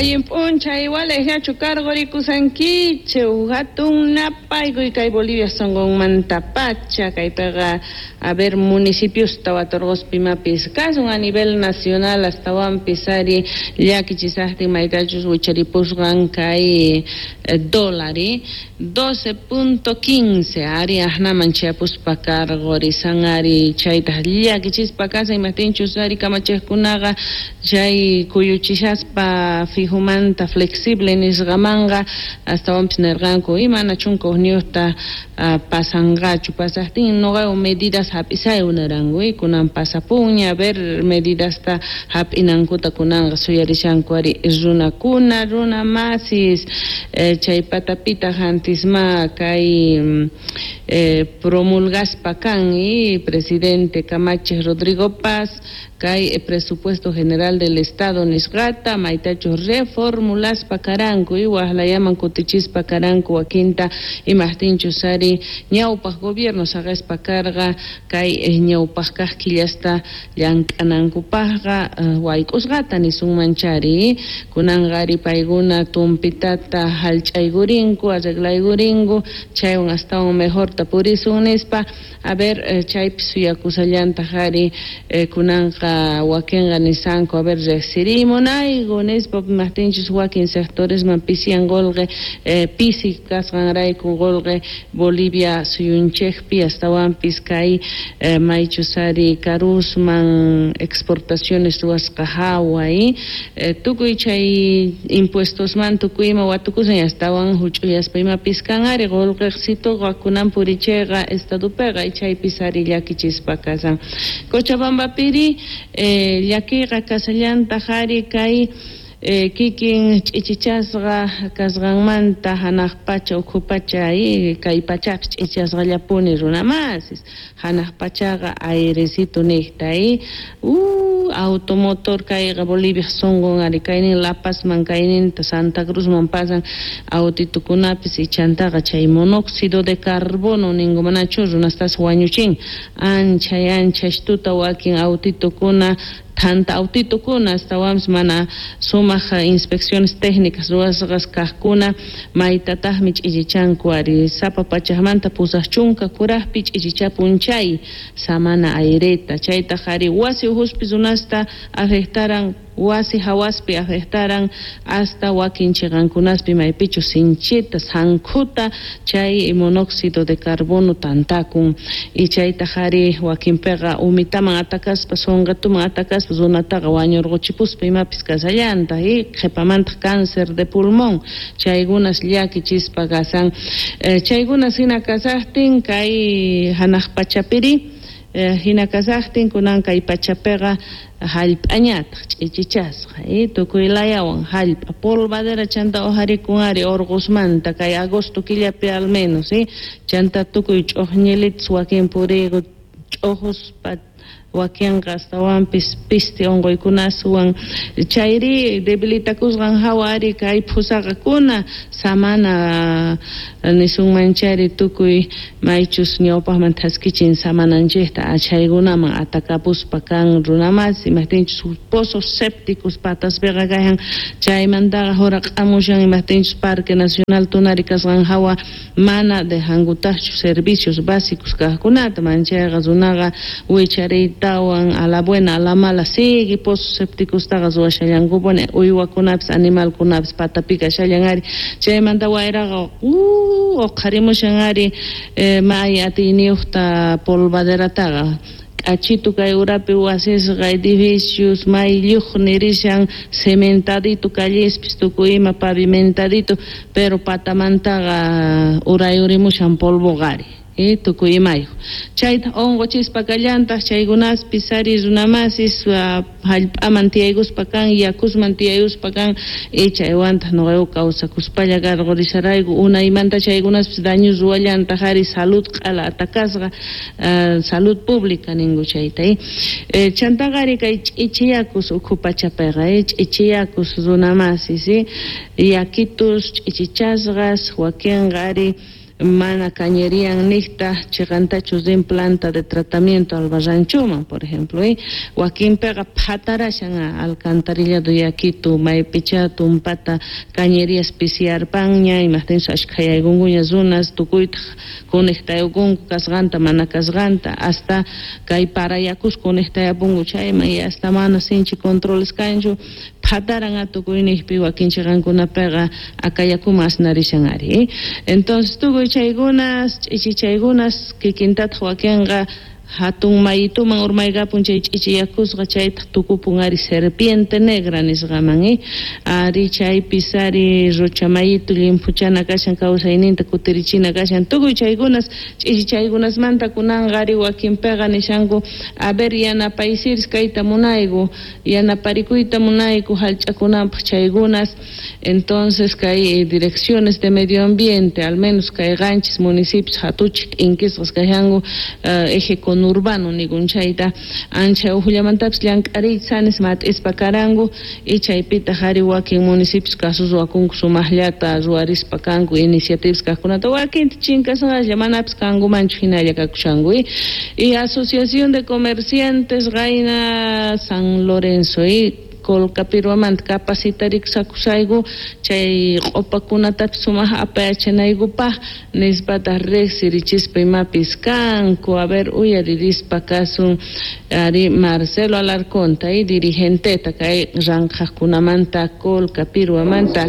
Allin p'unchay walejllachu karqurikusankichik hatun napaykuy kay Bolivia sunqunmantapacha kaypiqa a ver municipiosta waturquspa imapis kasun a nivel nacional astawanpis ari llakichisaqtin maytachus wicharipusqan kay dólar 12.15 ari aqnaman chayapuspa karqurisan ari chaytaq llakichispa kasan imaptinchus ari kamachiqkunaqa chay kuyuchishaspa fijomanta flexible nisqamanqa astawanpis nirqanku imana 11ta pasanqachu pasaqtin nuqawan medidas hap'isaywan niranku kunan pasapunña a ver medidasta hap'inankuta kunanqa suyarishanku ari runakuna runa masis chay patapitaq antisma kay promulgaspa kan presidente kamachiq Rodrigo Paz kay presupuesto general del Estado nisqata maytachus reformulaspa karanku waqlayaman kutichispa karanku wakinta imaqtinchus ari ñawpaq gobierno saqispa karqa kay ñawpaq kaq killasta llank'anankupaqqa wayk'usqata nisunman chari kunanqa ari paykuna tumpitata hallch'aykurinku arreglaykurinku chaywan astawan mejorta purisun nispa a ver chaypi suyakusallantaq ari kunanqa wakinqa nisanku a ver riqsirimunayku nispa imaqtinchus wakin sectoresman pisiyan qolqe pisi kasqanrayku qolqe Bolivia suyunchikpi astawanpis kay maychus ari karusman exportaciones ruwasqa hawa tukuy chay impuestosman tukuy ima watukusan astawan huch'uyaspa imapis kan ari qolqeqsituqa kunan purichayqa estadopiqa chaypis ari llakichispa kasan Cochabambapiri llakiyqa kasallantaq ari kay kikin ch'ichichasqa kasqanmanta hanaq pacha ukhu pacha kay pachapis ch'ichasqallapuni runa masis hanaq pachaqa airecito niqta automotor kayqa Bolivia sunqun ari kaynin La Pazman kayninta Santa Cruzman pasan autitukunapis ichantaqa chay monóxido de carbono ninku manachu runastas wañuchin ancha ancha tuta wakin autitukuna thanta autitukuna astawanpis mana sumaq inspecciones técnicas ruwasqas kaqkuna maytataqmi ch'ichichanku ari sapa pachaqmanta 80 kuraqpi ch'ichichapun chay samana aireta chaytaq ari wasi uhuspi runasta afectaran wasi hawaspi afectaran hasta wakin chiqankunaspi maypichus sinchita sankhuta chay monóxido de carbono tantakun y chaytaq ari wakinpiqa umitaman atakaspa sunqituman atakaspa runataqa wañurquchipuspa imapis kasallantaq qhipamantaq cáncer de pulmón chaykunas llakichispa kasan chaykunas hina kasaqtin kay hanaq pachapiri hina kasaqtin kunan kay pachapiqa hallp'añataq ch'ichichasqa tukuy layawan hallp'a polvadera chanta ujarikun ari urqusmanta kay agosto killapi al menos chanta tukuy ch'uqñilitas wakin puriyku ch'ujuspa wakinqa astawanpis pisti unquykunaswan chayri debilitakusqan hawa ari kay phusaqakuna samana nisunman chayri tukuy maychus ñawpaqman thaskichin samananchikta achaykunaman atakapuspa kan runamasi imaqtinchus pozos sépticos pataspiqa kayan chaymantaqa huraq'amushan imaqtinchus Parque Nacional Tunari kasqan hawa mana dejankutaqchu servicios básicos kaqkunata manchayqa runaqa wichariytawan a la buena a la mala sigue pozos sépticostaqa ruwashallankupuni uywakunapis animalkunapis patapi kashallan ari chaymanta wayraqa uqharimushan ari may atiyniyuqta polvaderataqa k'achitu kay urapi wasisqa edificios may lluq nirishan cementadito callespis tukuy ima pavimentadito pero patamantaqa urayurimushan polvoqa ari tukuy imayuq chayta unquchispa kallantaq chaykunaspis ari runamasis hallp'aman tiyaykuspa kan yakusman tiyaykuspa kan chaywantaq nuqayku kawsakuspalla karqurisharayku unaymanta chaykunaspis daño ruwallantaq ari salud q'ala atakasqa salud pública ninku chayta chantaqa ari kay ch'ichiyakus ukhu pachapiqa ch'ichiyakus runamasis yakitus ch'ichichasqas wakinqa ari Mana cañerian nijta cheqantachu rin planta de tratamiento Albarranchuman, por ejemplo, wakinpiqa phatarashan alcantarillado yakitu maypichá tumpata cañerías pisiyarpanña, imajtinchus ashkhayaykunkuña runas tukuytaq conectayukunku kasqanta mana kasqanta, hasta kay parayakus conectayapunku chayman y hasta mana sinchi controles kanchu, phataran tukuynijpi wakin chiqankunapiqa akayakuman asnarishan ari. Entonces tukuy chaykunas ch'ichichaykunas kikintataq wakinqa hatun mayituman urmaykapun chay ch'ichiyakusqa chaytaq tukupun ari serpiente negra nisqaman, ari chaypis ari Rocha mayitu llimphuchana kashan kawsayninta kutirichina kashan tukuy chaykunas ch'ichichaykunasmanta kunanqa ari wakinpiqa nishanku a ver yanapaysiris kayta munayku yanaparikuyta munayku hallch'akunanpaq chaykunas. Entonces kay direcciones de medio ambiente al menos kay qanchis municipios hatuchik t'inkisqas kashanku eje conurbano nikun chayta ancha uqllamantapis llank'ariyta sanis mat'ispa karanku y chaypitaq ari wakin municipios kasus ruwakunku sumaqllata ruwarispa kanku iniciativas kaqkunata wakinta chinkasqalla manapis kankumanchu hinalla kakushanku. Y Asociación de Comerciantes qayna San Lorenzo Colcapiruamanta capacitarikusakusayku chay q'upakunatapis sumaq apayachanaykupaq nispataq riqsirichispa imapis kanku. A ver, uyaririspa kasun ari Marcelo Alarconta dirigenteta kay ranqhaqkunamanta Colcapiruamanta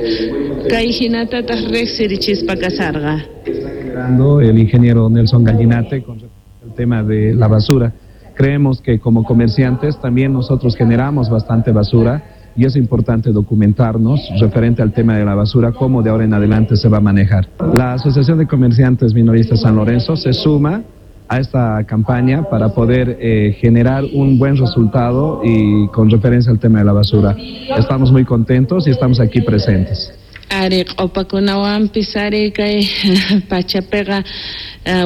kay hinatataq riqsirichispa kasarqa. Está generando el ingeniero Nelson Gallinate con respecto al tema de la basura. Creemos que como comerciantes también nosotros generamos bastante basura y es importante documentarnos referente al tema de la basura, cómo de ahora en adelante se va a manejar. La Asociación de Comerciantes Minoristas San Lorenzo se suma a esta campaña para poder generar un buen resultado y con referencia al tema de la basura. Estamos muy contentos y estamos aquí presentes. Ari q'upakunawanpis ari kay pachapiqa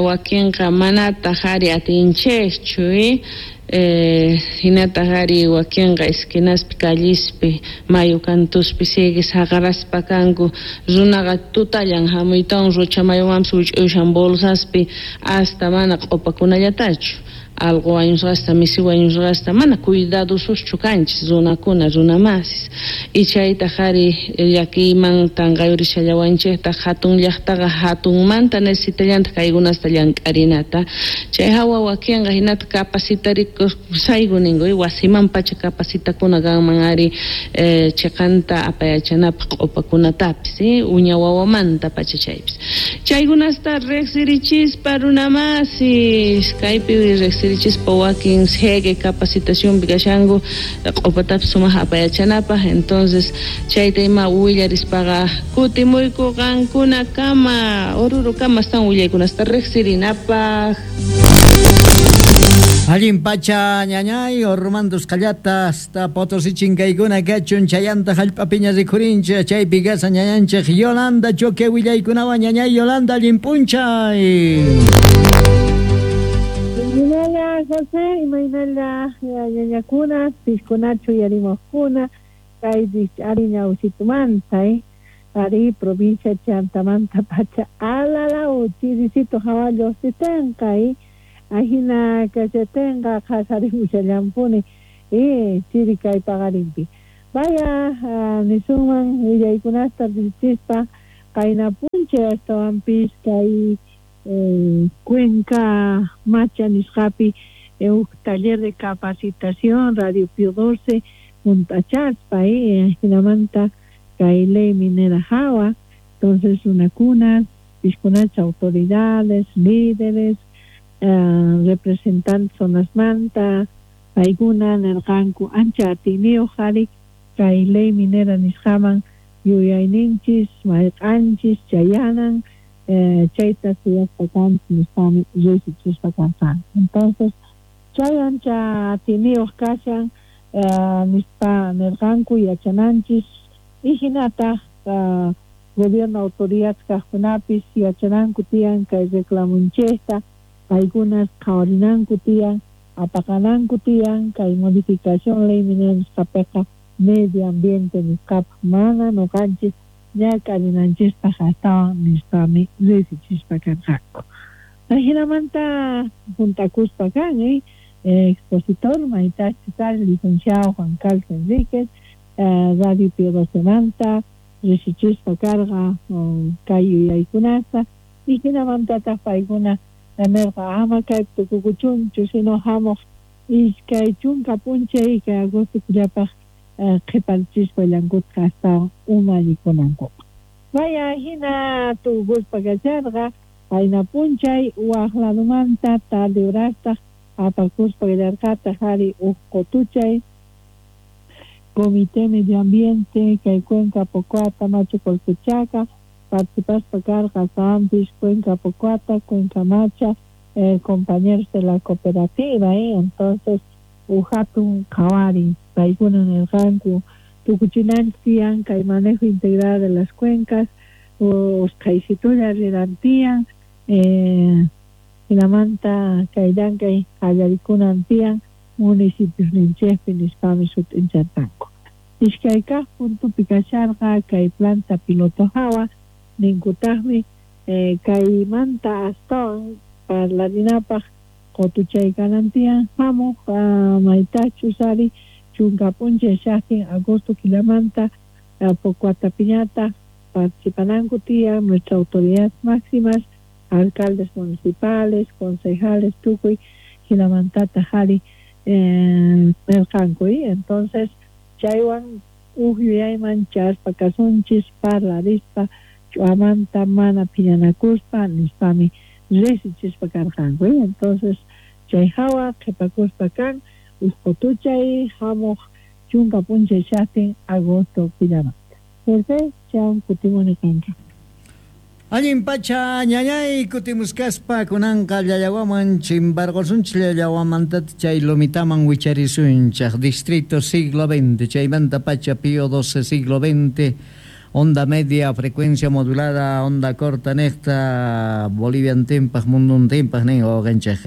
wakinqa manataq ari atinchikchu, hinataq ari wakinqa esquinaspi callispi mayu kantuspi sigue saqaraspa kanku runaqa tutallan hamuytawan Rocha mayumanpis wich'ushan bolsaspi hasta mana q'upakunallatachu alqu wañusqasta misi wañusqasta mana cuidadosuschu kanchis runakuna runamasis y chaytaq ari llakiyman tanqayurishallawanchiktaq hatun llaqtaqa hatunmanta necesitallantaq kaykunasta llank'arinata chay hawa wakinqa hinata capacitarikushayku ninku wasiman pacha capacitakuna kanman ari chiqanta apayachanapaq q'upakunatapis uña wawamanta pacha chaypis chaykunasta riqsirichispa runamasis kaypi riqsirichispa wakin sigue capacitación kashanku q'upatapis sumaq apayachanapaq. Entonces chayta ima willarispaqa kutimuyku qankunakama Orurokama están willaykunasta riqsirinapaq. Allin pacha ñañay Ormandos qallata hasta Potosí chinkaykuna kachun chayanta hallp'apiña rikhurinchik chaypi kasa ñañanchik Yolanda Choque willaykunawan ñañay Yolanda allin p'unchay. Imaynalla José, imaynalla ñañakuna, piskunachu yarimojkuna, kay ari ñawsitumanta, ari provincia Chantamanta pacha alalaw chirisito hawallo sitenqa, ajina kashatenqa qhasarimushallampuni chiri kay paqarinpi. Vaya nisunman willaykunasta richispa qayna p'unchay astawanpis kay Cuenca Macha nisqapi huk taller de capacitación Radio Pío 12 junt'achaspa jinamanta kay ley minera hawa. Entonces runakunas piskunacha autoridades, líderes, representantes zonasmanta paykuna nirqanku ancha atiyniyuq ari kay ley minera nisqaman yuyayninchis mayq'anchis chayanan chayta suyaspa kanchis nisqami riqsichispa karqanku. Entonces chay ancha atiyniyuq kashan nispa nirqanku yachananchis y hinataq gobierno autoridades kaqkunapis yachananku tiyan kay reclamunchikta paykunas qhawarinanku tiyan apaqananku tiyan kay modificación ley minera nisqapiqa medio ambiente nisqapaq mana nuqanchis Ñak'arinanchispaq astawan nispami riqsichispa karqanku. Ajinamanta juntakuspa kan, expositor maytachu kar licenciado Juan Carlos Enríquez, Radio Pío XII-manta riqsichispa karqa kay yuyaykunata y jinamantataq paykuna nirqa ama kaypi tukukuchunchu sino hamuq 20 p'unchay kay agosto killapaq qhiparichispa llankutqa astawan umallikunankupaq. Vaya hina tukukuspa kacharqa qayna p'unchay waq ladumanta tarde horastaq apakuspa kallarqataq ari uj qutuchay Comité Medio Ambiente kay Cuenca Pocoata Machu Colquechaca participaspa karqa Sampis Cuenca Pocoata Cuenca Macha compañeros de la cooperativa entonces uj hatun qhawari paykuna nirqanku tukuchinanchik tiyan kay manejo integral de las cuencas usqhaysitulla riran tiyan hinamanta kay llank'ay qallarikunan tiyan municipios ninchikpi nispami sut'incharqanku. Iskay kaq puntopi kasharqa kay planta piloto hawa ninkutaqmi kaymanta astawan parlarinapaq qutuchay kanan tiyan hamuq maytachus ari 10 p'unchay shaqtin agosto killamanta Pocoatapiñata participananku tiyan nuestras autoridades máximas, alcaldes municipales, concejales, tukuy hinamantataq ari nirqanku. Entonces chaywan uj yuyayman chaspa kasunchis parlarispa ch'uamanta mana phiñanakuspa nispami riqsichispa karqanku. Entonces chay hawa qhipakuspa kan uj qutuchay hamuq 10 p'unchay shaqtin agosto killamanta. José, chaywan kutimuni kanka. Allin pacha ñañay kutimuskaspa kunanqa llallawaman chimparqusunchik llallawamantata chay lomitaman wicharisunchik distrito siglo XX chaymanta pacha Pío XII siglo XX onda media frecuencia modulada onda corta niqta Boliviantinpaq munduntinpaq nin wawqinchik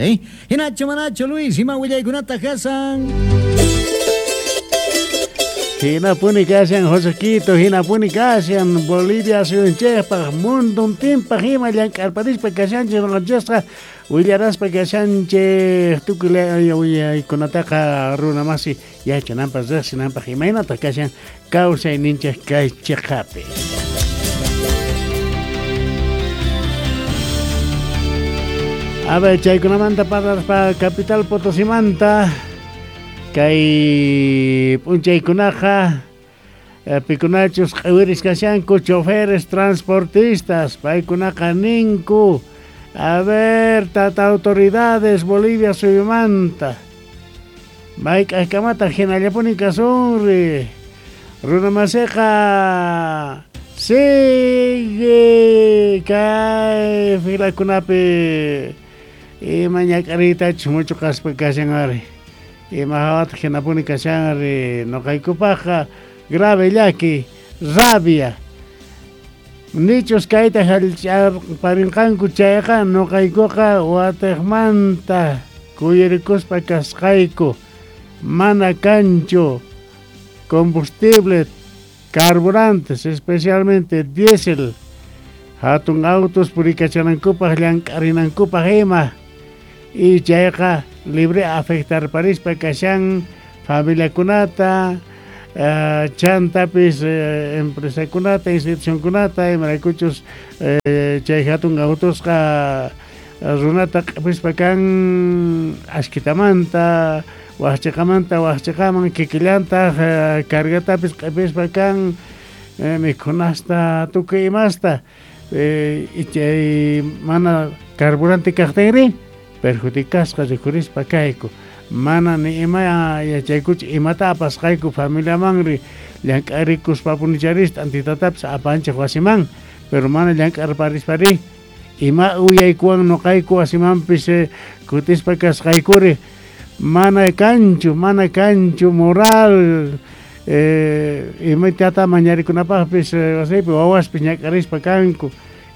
hinachu manachu Luis ima willaykunata kasan. Hinapuni kashan Josequito, hinapuni kashan Bolivia suyunchikpaq munduntinpaq ima llank'arparispa kashanchik nuqanchikqa willaraspa kashanchik tukuy willaykunataqa runa masi yachananpaq riqsinanpaq imaynataq kashan kawsayninchik kay chiqapi. A ver, chaykunamanta parlaspa capital Potosimanta kay p'unchaykunaqa pikunachus q'iwiris kashanku choferes transportistas paykunaqa ninku a ver tata autoridades Bolivia suyumanta mayk'aqkamata hinallapuni kasunri runa masiqa sigue kay filakunapi ima ñak'ariytachus muchuqaspa kashan ari ima hawataq hinapuni kashanri nuqaykupaqqa grave llaki rabia nichus kayta hallch'arparinqanku chayqa nuqaykuqa watiqmanta kuyurikuspa kasqayku mana kanchu combustible carburantes especialmente diésel hatun autos purikachanankupaq llank'arinankupaq ima y chayqa libre afectarparispa kashan familiakunata chantapis empresakunata institucionkunata imaraykuchus chay hatun autosqa runata q'ipispa kan ashkitamanta waqchiqamanta waqchiqaman kikillantaq cargatapis q'ipispa kan mikhunasta tukuy imasta chay mana carburante kaqtinri perjudicasqa rikhurispa kayku mana ni ima yachaykuchu imata apasqayku familiamanri llank'arikuspa punicharispa antitatapis apanchik wasiman pero mana llank'arparispari ima uyaykuwan nuqayku wasimanpis kutispa kasqaykuri mana kanchu moral imatata mañarikunapaqpis wasipi wawaspis ñak'arispa kanku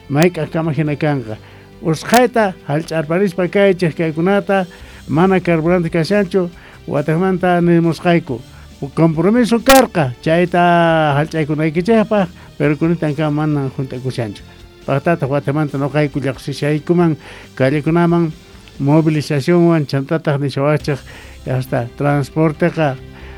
mayk'aqkama hina kanqa usqhayta hallch'arparispa kaychik kaykunata mana carburante kashanchu watiqmanta nimusqayku Compromiso karqa chayta hallch'aykunaykichikpaq, pero kunitankama mana junt'akushanchu. Paqtataq watamanta nuqayku llaqsishaykuman callekunaman movilizacionwan chantataq nishawachik hasta transporteqa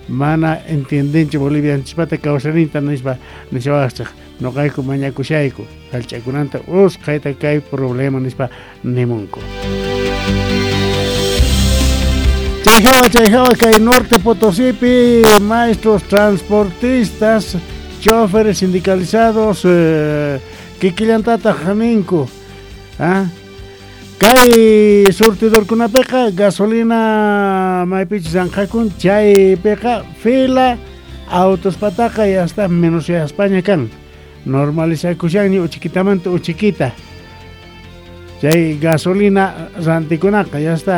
mana entiendenchu bolivianchispata kawsayninta nispa nishawachik nuqayku mañakushayku hallch'akunanta usqhayta kay problema nispa nimunku. Chay hawa kay Norte Potosípi maestros transportistas, choferes sindicalizados, kikillantataq ninku, ¿ah? Kay surtidorkunapiqa gasolina maypichus ranqakun chaypiqa fila autospataqa ya está menos España kan normalizakushanña uchikitamanta uchikita chay gasolina rantikunaqa ya está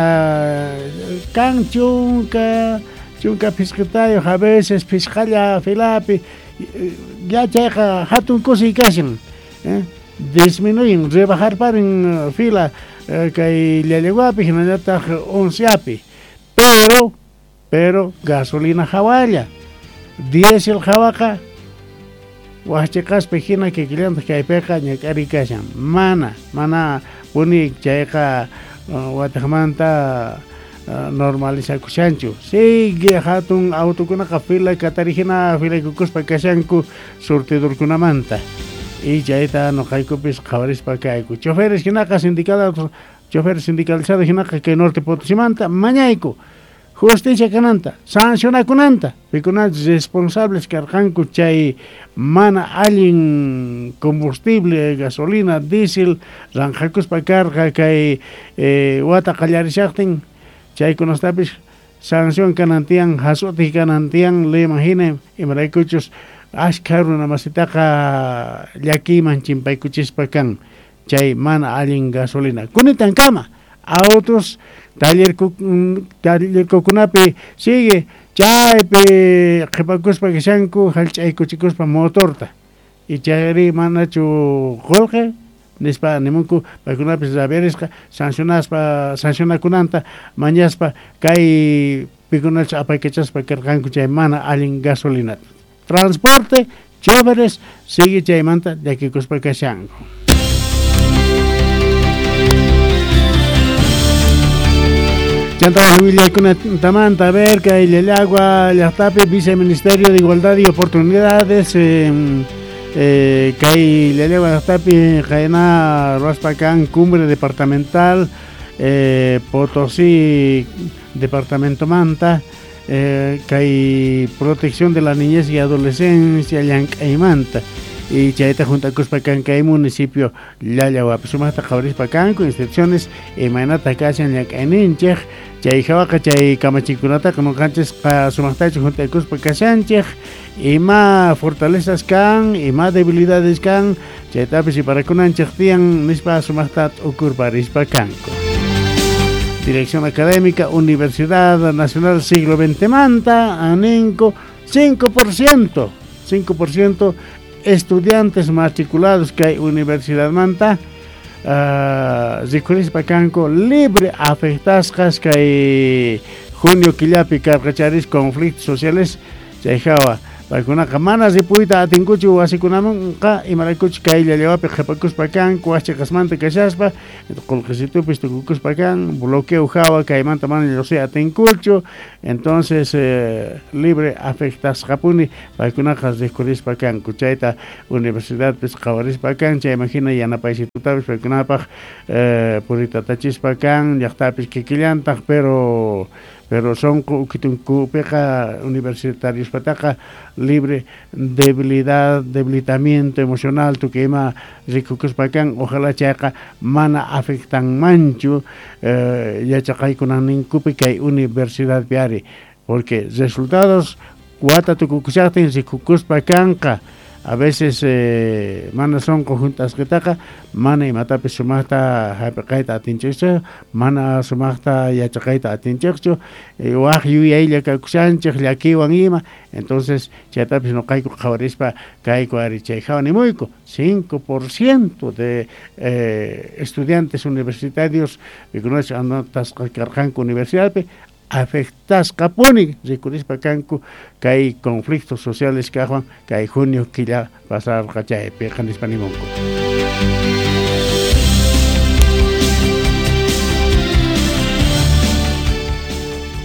kan chunka phisqitayuq a veces phisqalla filapi ya chayqa hatun kusiy kashan, disminuyen rebajarparin fila kay Llallaguapi hinallataq Onceapi, pero gasolina hawalla diésel hawaqa waqchiqaspi hina kikillantaq kaypiqa ñak'ariy kashan mana puni chayqa wataqmanta normalizakushanchu sigue hatun autokunaqa fila katari hina filaykukuspa kashanku surtidorkunamanta y chayta nuqaykupis qhawarispa kayku choferes hinaqa sindicalados choferes sindicalizados hinaqa kay Norte Potosimanta mañayku justicia kananta sancionakunanta pikunachus responsables karqanku chay mana allin combustible gasolina diésel ranqakuspa karqa kay wata qallarishaqtin chaykunastapis sanción kanan tiyan hasutij kanan tiyan leyman hina imaraykuchus ashkha runa masitaqa llakiyman chimpaykuchispa kan chay mana allin gasolina kunitankama autos tallerkukunapi sigue chaypi qhipakuspa kashanku hallch'aykuchikuspa motorta y chayri manachu qullqi nispa nimunku paykunapis rabiarisqa sancionaspa sancionakunanta mañaspa kay pikunachus apaykachaspa karqanku chay mana allin gasolinata transporte choferes sigue chaymanta llakikuspa kashanku. Chanta willaykunatamanta a ver kay Llallagua llaqtapi Viceministerio de Igualdad y Oportunidades kay Llallagua llaqtapi qayna ruwaspa kan cumbre departamental Potosí departamentomanta kay protección de la niñez y adolescencia llank'aymanta y chayta juntakuspa kan kay municipio Llallaguapi sumaqta qhawarispa kanku instituciones imaynata kashan llank'ayninchik chay hawaqa chay kamachikunataqa nuqanchis sumaqtachu juntakuspa kashanchik ima fortalezas kan ima debilidades kan chaytapis iparakunanchik tiyan nispa sumaqta t'ukurparispa kanku. Dirección Académica Universidad Nacional Siglo XX manta aninko 5% estudiantes matriculados kay universidad manta rikhurispa kanku libre afectasqas kay junio killapi karqacharis conflictos sociales chay hawa paykunaqa mana ripuyta atinkuchu wasikunamanqa imaraykuchu kay Llallawapi qhipakuspa kanku wasiqasmanta kashaspa qullqisitupis tukukuspa kan bloqueo hawa kaymanta mana lluqsiy atinkuchu entonces libre afectasqapuni paykunaqa rikhurispa kanku chayta universidadpis qhawarispa kan chayman hina yanapaysitutapis paykunapaq puritatachispa kan llaqtapis kikillantaq pero sonqo ukitunkupiqa universitariospataqa libre debilidad, debilitamiento emocional tukuy ima rikukuspa kan ojalá chayqa mana afectanmanchu yachaqaykunanninkupi kay universidadpi ari porque resultados wata tukukushaqtin rikukuspa kanqa a veces mana sonqo juntasqitaqa mana imatapis sumaqta hap'iqayta atinchikchu mana sumaqta yachaqayta atinchikchu waq yuyaylla kakushanchik llakiywan ima entonces chaytapis nuqayku qhawarispa kayku ari chay hawa nimuyku 5% de estudiantes universitarios pikunachus anotasqa karqanku universidadpi Afectasqapuni rikurispa kanku kay conflictos sociales kaqwan kay junio killa pasarqa chaypiqa nispa nimunku.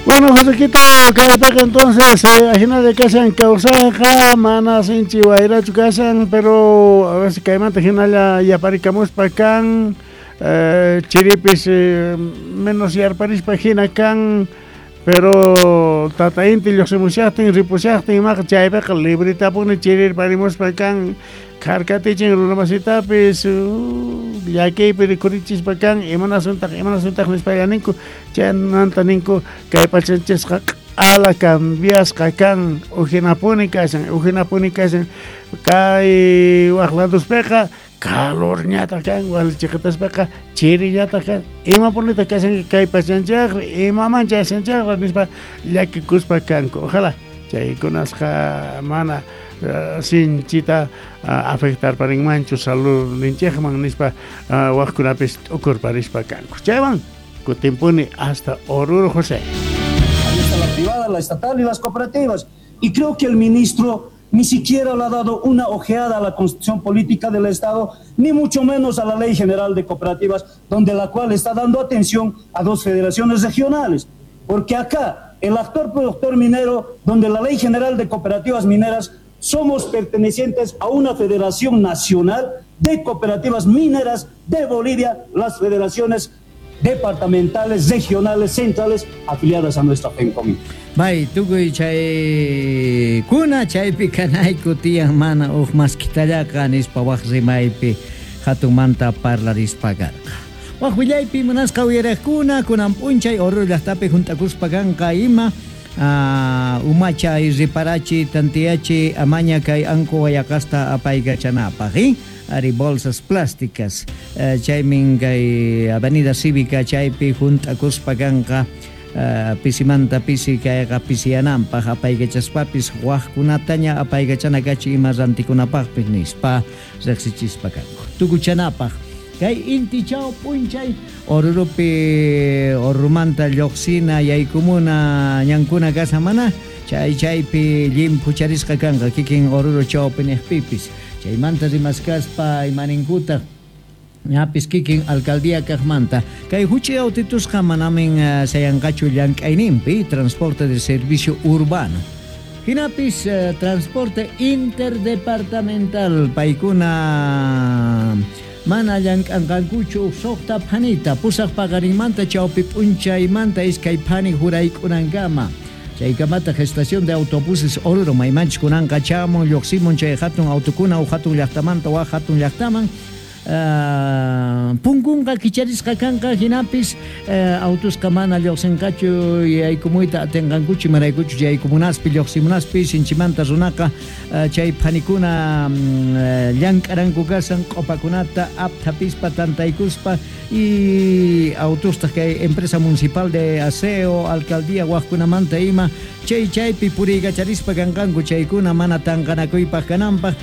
Bueno, Josequito, kaypiqa entonces ajinalla kashan kawsayqa, mana sinchi wayrachu kashan, pero a ver si kaymanta hinalla yaparikamuspa kan, chiripis menos yarparispa hina kan, pero tata inti lluqsimushaqtin, ripushaqtin imaqa chaypiqa libritapuni chirirparimuspa kan, kharkatichin runamasitapis, llakiypi rikurichispa kan, imanasuntaq, imanasuntaq nispalla ninku, chaymanta ninku kay pachanchisqa q'ala cambiasqa kan, ujinapuni kashan, ujinapuni kashan, kay waq ladospiqa calorñataq kan, walichiqitaspaqa chiriñataq kan, imapunitaq kashan kay pachanchaqri, imaman chayashanchaqra nispa llakikuspa kanku. Ojalá chaykunasqa mana sinchita afectarparinmanchu saludninchikman nispa waqkunapis t'ukurparispa kanku. Chaywan kutimpuni hasta Oruro, José. Ahí está la privada, la estatal y las cooperativas. Y creo que el ministro ni siquiera le ha dado una ojeada a la Constitución Política del Estado, ni mucho menos a la Ley General de Cooperativas, donde la cual está dando atención a dos federaciones regionales. Porque acá, el actor productor minero, donde la Ley General de Cooperativas Mineras, somos pertenecientes a una federación nacional de cooperativas mineras de Bolivia, las federaciones departamentales, regionales, centrales, afiliadas a nuestra FENCOMIN. Bay, tukuy chay kuna chaypi kanayku tiyan mana uj maskitallaqa nispa waj rimaypi hatunmanta parlarispa karqa. Waj willaypi munasqa uyariqkuna kunan p'unchay Oruro llaqtapi junt'akuspa kanqa ima umachay riparachi tantiyachi amaña kay anku wayaqasta apaykachanapaq, ari bolsas plásticas chaymin kay Avenida Cívica chaypi junt'akuspa kanqa pisimanta pisi kayqa pisiyananpaq apaykachaspapis wajkunataña apaykachana kachi ima rantikunapaqpis nispa riqsichispa kanku. Tukuchanapaq kay inti chaw p'unchay Orurupi Orurumanta lluqsina yaykumuna ñankuna kashan mana chay chaypi llimphucharisqa kanqa kikin Oruro chawpi niqpipis chaymanta rimaskaspa imaninkuta ñapis kikin alcaldía kaqmanta kay huch'i autitusqa manamin sayanqachu llank'ayninpi transporte de servicio urbano hinapis transporte interdepartamental paykuna mana llank'anqankuchu suqta phanita pusaq paqarinmanta chawpi p'unchaymanta iskay phani hurayk'unankama chaykamata estación de autobuses Oruro maymanchis kunanqa chamun lluqsimun chay hatun autukuna uj hatun llaqtamanta waj hatun llaqtaman punkunqa kicharisqa kanqa hinapis autusqa mana lluqsinqachu yaykumuyta atinqankuchu imaraykuchu yaykumunaspi lluqsimunaspi sinchimanta runaqa chay phanikuna llank'aranku kashan q'upakunata apthapispa tantaykuspa y autustaq kay empresa municipal de aseo alcaldía waqkunamanta ima chay chaypi puriykacharispa kanqanku chaykuna mana tanqanakuypaq kananpaq.